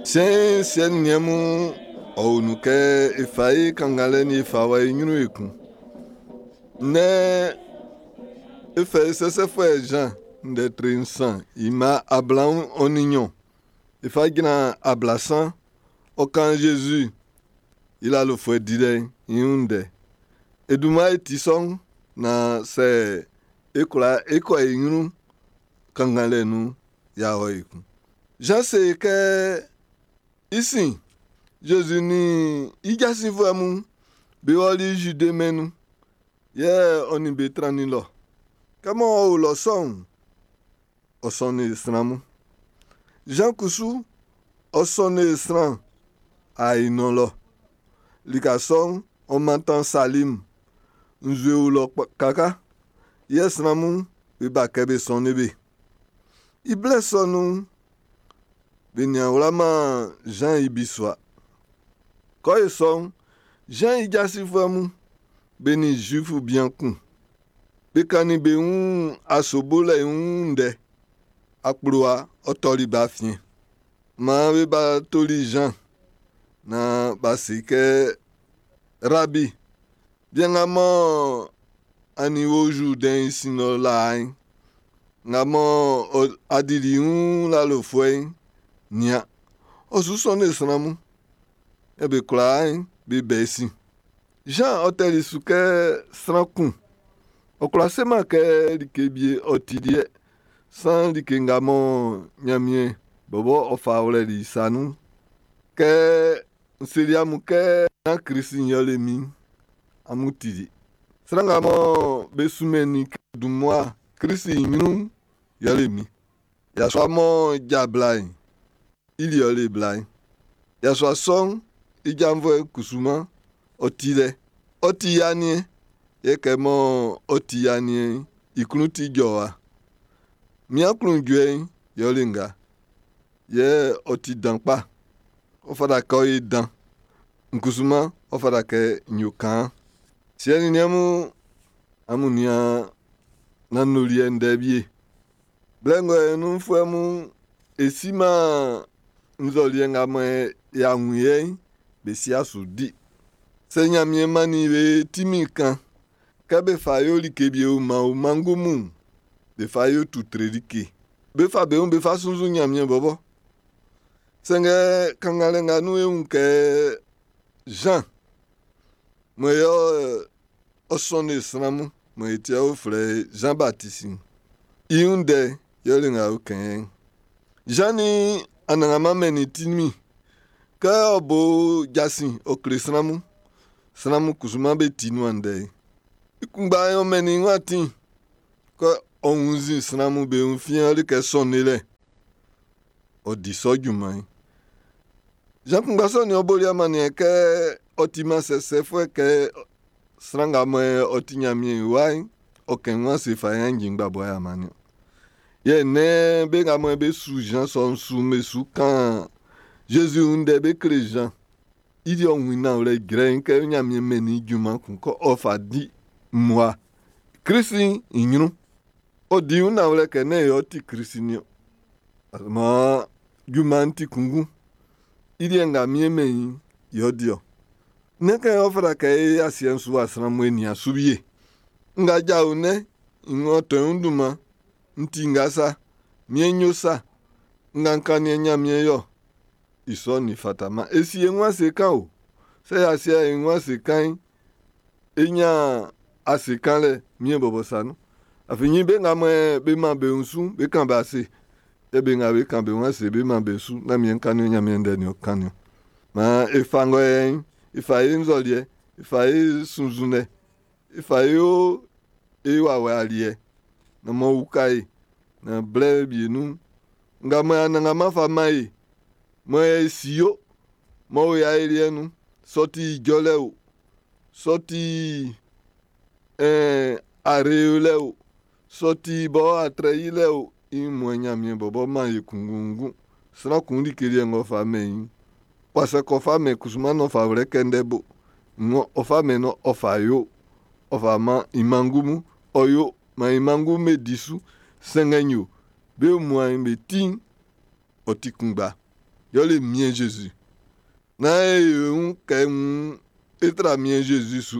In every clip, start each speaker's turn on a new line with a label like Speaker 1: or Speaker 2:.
Speaker 1: Siɛn'n, siɛ nin niɛn mun, ɔ o nun kɛ e fa e kannganlɛ'n e fa wɔ e ɲrun ekun. Nnɛ e fɛ i sɛsɛfuɛ Zan ndɛ tre 3 i mma 22 e fa jran 30, ɔ kan Zezi i lalofuɛ dilɛ'n i wun ndɛ. E dunman e ti sɔ'n naan sɛ e kwla e kɔ e ɲrun kannganlɛ nun'n, y'a ɔ ekun. Zan se kɛ i sin, Zezi nin i jasinfuɛ mun be ɔli Zide mɛn'n nun, yɛ ɔ nin be trannin lɔ. Kɛ mɔ ɔ o lɔ sɔ'n, ɔ sɔnnin sran mun. Zan kusu, ɔ sɔnnin sran Ainɔn lɔ. Lika sɔ'n, ɔ mantan Salim. Nzue o lɔ kaka, yɛ sran mun be ba kɛ be sɔnnin be. I blɛ sɔ nun'n, be nian wlaman Zan i bisua. Kɔ e sɔ'n, Zan i jasinfuɛ mun, be nin Zuifu bian kun. Be kannin be wun aso bolɛ i wun ndɛ. Akplowa ɔ tɔli be afiɛn. Maan be ba toli Zan naan b'a se kɛ, Rabi, bian nga mɔ a nin wo Zurdɛn'n i sin lɔ laa'n, nga mɔ a dili i wun lalofuɛ'n, nian, ɔ su sɔnnin sran mun. Yɛ be kwlaa'n be bɛ i sin. Zan ɔ tɛli su kɛ sran kun, ɔ kwlá seman kɛ like bie ɔ ti liɛ, saan like nga mɔ Ɲanmiɛn bɔbɔ ɔ fa wlɛli i sa nun'n. Kɛ n seli amun kɛ nán Klisi'n yɛle min'n, amun tili. Sran nga mɔ be sunmɛnnin i kɛ dun mmua Klisi i ɲrun'n yɛle min. Yasua m'ɔ ja bla'n, i liɛ ɔ le bla'n. Yasua sɔ'n i janvuɛ kusuman ɔ ti lɛ. Ɔ ti i aniɛn, yɛ kɛ mɔ ɔ ti i aniɛn'n, i klun ti jɔwa. Min aklunjuɛ'n yɛ ɔ le nga. Yɛ ɔ ti dan kpa. Ɔ fata kɛ ɔ ye dan. N kusuman, ɔ fata kɛ n yo kaan. Siɛ nin niɛn mun, amun nian nanndoliɛ ndɛ wie. Blɛ ngɔ nunfuɛ mun, e siman nzɔliɛ nga mɔ y'a wun yɛ'n, be si'a su di. Sɛ Ɲanmiɛn mannin be tinmin kan, kɛ be fa yo like wie man o mango mun, be fa yo tutre like. Be fa be wun be fa sunnzun Ɲanmiɛn bɔbɔ. Sanngɛ kannganlɛ nga nun e wun kɛ Zan, mɔ yɛ ɔ sɔnnin sran mun, mɔ i ti ɔ flɛ Zan Batisi'n, i wun ndɛ yɛle nga o kɛn. Zan nin Anannganman mɛnnin tinmin kɛ ɔ bo jasin ɔ kle sran mun. Sran mun kusuman be ti nuan ndɛ'n. I kunngba'n ɔ mɛnnin i wun atin kɛ ɔ wunnzin sran mun be wun fiɛn like sɔ'n lɛ. Ɔ di sɔ junman'n. Zan kunngba sɔ'n ɔ boli amanniɛn kɛ ɔ timan sɛsɛfuɛ kɛ sran nga mɔ ɔ ti Ɲanmiɛn i wa'n, ɔ kɛn wun ase fa yan njin ngbabua ya mannin. Yɛ nnɛn be nga mɔ be su Zan sɔ'n su'n be su kan Zezi wun ndɛ be kle Zan. I di ɔ wun nanwlɛ jrɛiin kɛ Ɲanmiɛn mɛnnin i junman kun kɛ ɔ fa di mmua Klisi'n i ɲrun. Ɔ di wun nanwlɛ kɛ nɛ́n yɛ ɔ ti Klisi niɔn. Maan junman'n ti kunngun. I liɛ nga miɛn mɛn i'n, yɛ ɔ di ɔ. Nɛ́n kɛ ɔ fata kɛ e asiɛ'n su wa sran mun e nian su wie. Nga jao nɛ, ng'ɔ tɔn i wun dunman, n ti nga sa, miɛn yo sa, nga n kannin Ɲanmiɛn yɔ. I sɔ'n nin fataman. E si e wun ase kan o. Sɛ y'a sie e wun ase kan'n, e ɲan ase kanlɛ miɛn bɔbɔ sa nun. Afin nyin be nga mɔ be man be wun su'n, be kan be ase. Yɛ be nga be kan be wun ase be man be su, na miɛn kannin Ɲanmiɛn ndɛ nin ɔ kannin. Maan e fa ngɔ yɛ'n, e fa e nzɔliɛ, e fa e sunnzunlɛ, e fa e yo e wawɛ aliɛ, na mɔ uka e, na blɛ wie nun, nga mɔ Anannganman fa man e, mɔ e si yo, mɔ o ya e nun, sɔ ti ijɔlɛ o, sɔ ti are lɛ o, sɔ ti bɔ atrɛ yilɛ o, i mɔ Ɲanmiɛn bɔbɔ man e kunngunngun. Sran kun like liɛ ng'ɔ fa mɛn i'n, wasa kɔ fa mɛn kusuman n'ɔ fa wlɛ kɛ ndɛ bo. Ng'ɔ ɔ fa mɛn no ɔ fa yo, ɔ fa man i mangu mun, ɔ yo man i mangu me di su. Sɛngɛ yo, be muan be ti'n, ɔ ti kunngba. Yɛle Miɛn Zezi. Nán e yo e wun kɛ wun e tra Miɛn Zezi su.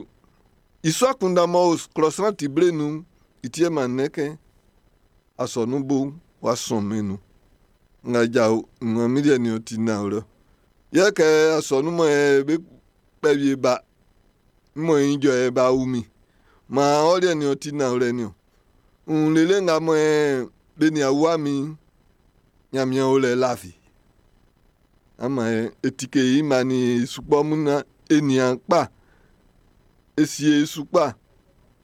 Speaker 1: I sɔ akunndan m'ɔ o klɔ sran ti ble nun'n, i ti yɛ man nnɛn kɛ asɔnun bo'n w'a sɔn mɛn nun. Nga jao nga mi liɛ nin ɔ ti nanwlɛ. Yɛ kɛ asɔnun mɔ e be kpɛ wie ba mɔ i jɔ e ba wu min. Maan ɔ liɛ nin ɔ ti nanwlɛ niɔn. N lele nga mɔ e be nin a wua min Ɲanmiɛn o lɛ lafi. Ama e tike i ma nin e sukpɔ mun na e nian kpa, e sie e su kpa,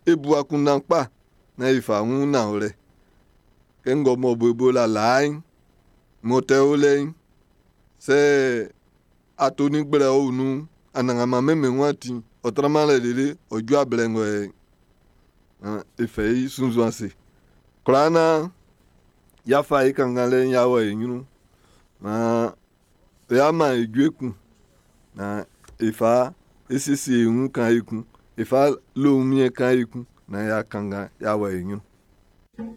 Speaker 1: e bu akunndan kpa na e fa wun nanwlɛ. Kɛ ngɔ mɔ bo la laa'n, m'ɔ tɛ o lɛ'n, sɛ ato nin gblɛ o nun'n, anannganman mɛnmɛn wun atin, ɔ traman lɛ lele ɔ ju ablɛ ngɔ yɛ e fɛ i sunnzun ase. Kwlaa naan y'a fa e kannganlɛ'n y'a wɔ e ɲrun. Maan y'a man e jue kun naan e fa e siesie e wun kan ekun, e fa lo wunmiɛn kan ekun naan y'a kanngan y'a wɔ e ɲrun.